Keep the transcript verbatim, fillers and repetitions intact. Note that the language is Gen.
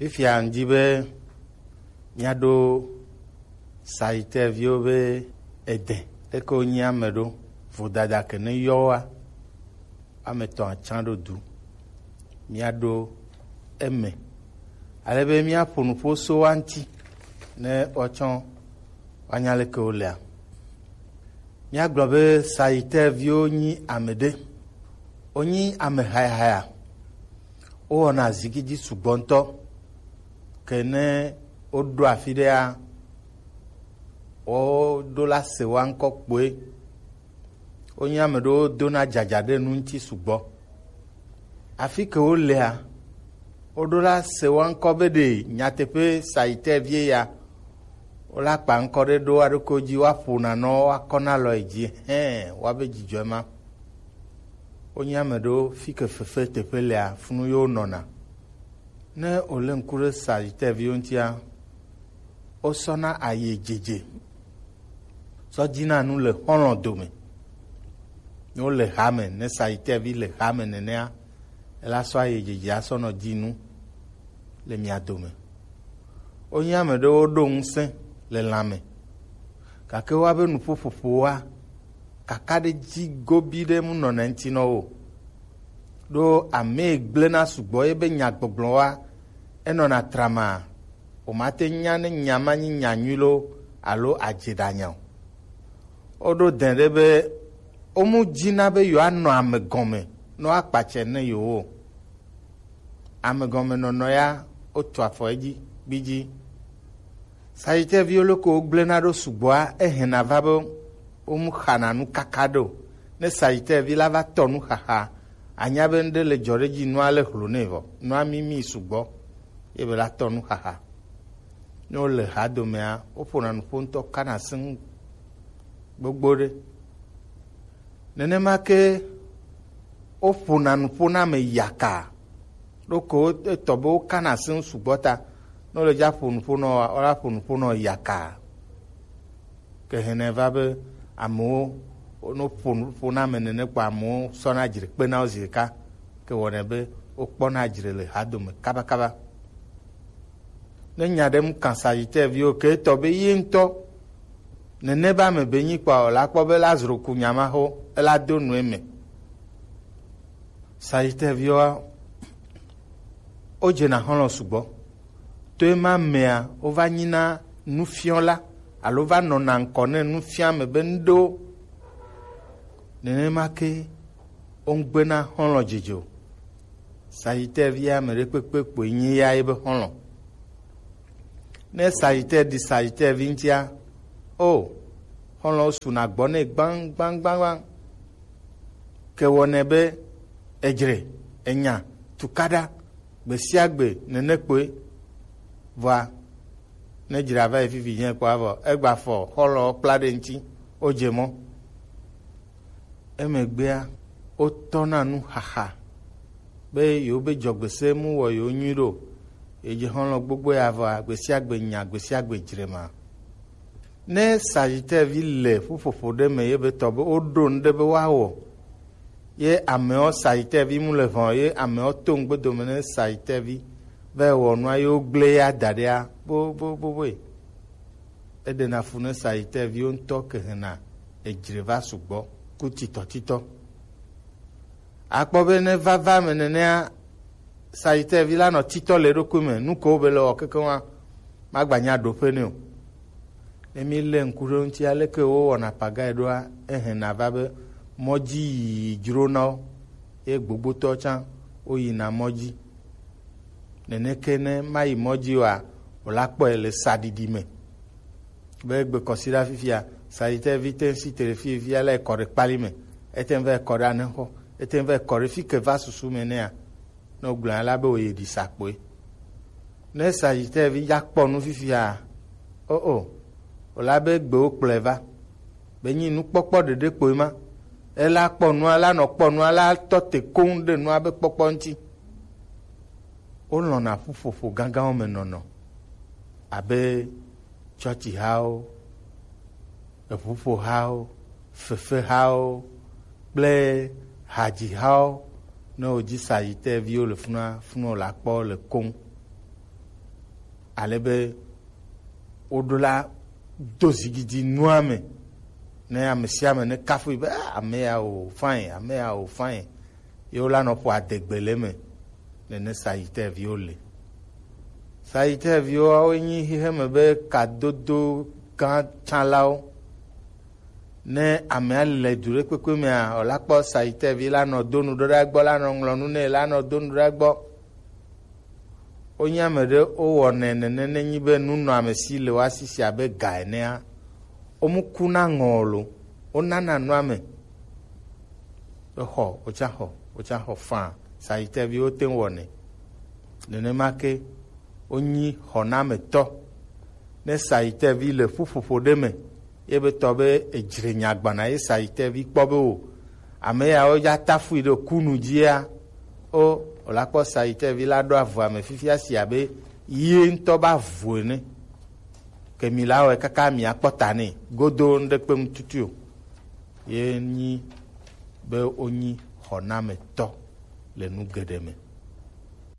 Fifia ŋdi be míaɖo Sagittaire viwo be ede leke wonyi ame ɖo, vodada ke ne yɔ woa, ame etɔ̃ atsã ɖo du. Míaɖo eme. Ale be míaƒo nuƒo so woa ŋuti ne woatsɔ woanya leke wolea. Míagblɔ be Sagittaire viwo nyi ame ɖe. Wonyi ame hayahaya. Wowɔna zigidi sugbɔ ŋutɔ. Ke ne woɖo afi ɖea, woɖo la se woa ŋkɔ kpoe. Wonye ame ɖewo dona dzadza ɖe nu ŋuti sugbɔ. Afi ke wolea, woɖo la se woa ŋkɔ be ɖe nyateƒe Sagittaire vie ya, wola kpa ŋkɔ ɖe ɖo aɖoke dzi, woaƒo nanɔ, woakɔ na alɔ yi dzi, hɛn, woabe dzidzɔe ma. Wonye ame ɖewo fi ke fefe teƒe lea, funu yewo nɔna. Ne wòlé ŋku ɖe Sagittaire viwo ŋutia, wosɔna ayi dzedze sɔ dzina nu le xɔlɔ̃ dome. Ne wole hame, ne Sagittaire vi le hame nenea, ela sɔ ayi dzedze asɔ nɔ dzi nu le mia dome. Wonye ame ɖewo ɖo ŋusẽ le lãme, gake woabe nuƒoƒoƒowoa, kakaɖedzi gobi ɖe mu nɔna ŋuti nɔ wo. Ɖo ame gblẽna sugbɔ ye be nyagbɔgblɔwoa, enɔna trama, womate nya ne nya ma nyi nya nyui loo alo adzeɖanya o. Woɖo dɛn ɖe be womu dzina be yewoanɔ ame gɔme ne woakpatsɛ ne yewo o. Ame gɔme nɔnɔ ya, wotu afɔ edzi gbidzi. Sagittaire viwo loko wogblẽna ɖo sugbɔa, ehɛna va be womu xana nu kaka ɖe o. Ne Sagittaire vi la va tɔ nu xaxa, anya be ŋɖe le dzɔ ɖe edzi, nua le hlo nɛ vɔ, nua mimi sugbɔ, ye be la tɔ nu xaxa. Ne wole ha domea, woƒona nuƒo ŋutɔ kana sẽŋ gbogbo ɖe. Nenema ke woƒona nuƒo na ame yaka. Ɖoko etɔ be wokana asi ŋu sugbɔ ta. Ne wole dza ƒo nuƒo nɔ, wola ƒo nuƒo nɔ yaka. Ke hɛnɛ va be amewo, ne woƒo nuƒo na ame nene kpɔ, amewo sɔna dzre kpena wo zi ɖeka. Ke wɔnɛ be wokpɔna dzre le hadome kabakaba. Ne nya ɖe mu kan Sagittaire viwo ke etɔ be ye ŋutɔ nene be ame be nyi kpɔ, la kpɔ be la zro ku nya ma xo, ela do nu eme. Sagittaire viwoa, wodzena xɔlɔ̃ sugbɔ. To ema mea, wova nyina nufiɔla alo va nɔna ŋkɔ ne nufiame be ŋɖewo. Nenema ke woŋgbena xɔlɔ̃ dzodzo. Sagittaire vi ame ɖekpekpe kpoe nyi ya ye be xɔlɔ̃. Ne Sagittaire ɖi Sagittaire vi ŋutia, o, xɔlɔ̃wo suna gbɔ nɛ gbaŋgbaŋgbaŋgbaŋ. Ke wɔnɛ be edzre, enya, tukaɖa, gbe sia gbe nene kpoe. Vɔa, ne dzra va yi fifi nyɛ kpɔ avɔ, egba fɔ xɔlɔ̃wo kpla ɖe ŋuti, wodze mɔ. Emegbea, wotɔna nu xaxa be yewo be dzɔgbese mu wɔ yewo nyui ɖo, yedze xɔlɔ̃ gbogbo ya vɔa, gbe sia gbe nya, gbe sia gbe dzre ma. Ne Sagittaire vi le ƒuƒoƒo ɖe me ye be tɔ be woɖo nu ɖe be woawɔ, ye amewo Sagittaire vi mu le ʋɔn, ye amewo to ŋgbe dome ne Sagittaire vi va wɔ nua ye wogblẽ ya da ɖea, bo, bo, bo, boe. Eɖena fu ne Sagittaire viwo ŋutɔ ke hena edzre va sugbɔ ku titɔtitɔ. Akpɔ be ne vava me nenea, Sagittaire vi la nɔ titɔ le eɖokui me, nu ko be le wɔ kekeŋua, magbanya ɖoƒe nɛ o. Ne mi lé ŋku ɖe ŋuti aleke wowɔna pagae ɖoa, ehena va be mɔdzi yiyi dzrona wo, ye gbogbotɔ tsã woyina mɔdzi. Neneke ne mayi mɔdzi oa, wòla kpɔe le saɖiɖi me. Be egbe kɔsiɖa fifia, Sagittaire vi te ŋu si te ɖe fi fia la ekɔ ɖe kpali me, ete ŋu va ekɔ ɖe anexɔ, ete ŋu va ekɔ ɖe fi ke va susu me nɛa, ne wogblɔna la be wòyi ɖi sa kpoe. Ne Sagittaire vi dza kpɔ nu fifia, o o, wòla be gbewo kplɔe va. Be nyi nukpɔkpɔ ɖeɖe kpoe ma. Ela kpɔ nua, la nɔ kpɔ nua, la tɔ te koŋ ɖe nua be kpɔkpɔ ŋuti. Wolɔ̃na ƒuƒoƒo gãgãwo me nɔnɔ abe tsɔtsihawo, eʋuƒohawo, fefehawo kple hadzihawo. Ne wòdzi Sagittaire viwo le funua, funɔ la kpɔ le koŋ. Ale be woɖo la do zigidi nua me ne ame sia ame ne kafui be, "Ah, ame ya o, fine, ame ya o, fine." Ye wola nɔ ƒo adegbe le eme. Nene Sagittaire viwo le. Sagittaire viwo, woe nyi xexe me be kadodo gã tsãlawo. Ne amea le du ɖe kpekpe mea, wòla kpɔ Sagittaire vi la nɔ do nu ɖo ɖa gbɔ, la nɔ ŋlɔ nu nɛ, la nɔ do nu ɖa gbɔ. Wonye ame ɖe wowɔnɛ nene, nenyi be nunɔamesi le woa si si abe ga enea, womu kuna ŋɔ o lo, wonana nua me. Exɔ, wotsa xɔ, wotsa xɔ faa. Sagittaire viwo te ŋu wɔnɛ. Nenema ke wonyi xɔnametɔ. Ne Sagittaire vi le ƒuƒoƒo ɖe me, ye be tɔ be edzre nya gbana ye Sagittaire vi kpɔ be o, ame yawo ya tafui ɖe kunu dzia, o, wòla kpɔ Sagittaire vi la ɖo avua me fifia si abe ye ŋutɔ ba vu ene. Ke mi la wɔe kaka mi akpɔ ta nɛ godo ŋɖe kpem tutu o. Ye nyi be wonyi xɔnametɔ le nu geɖe me.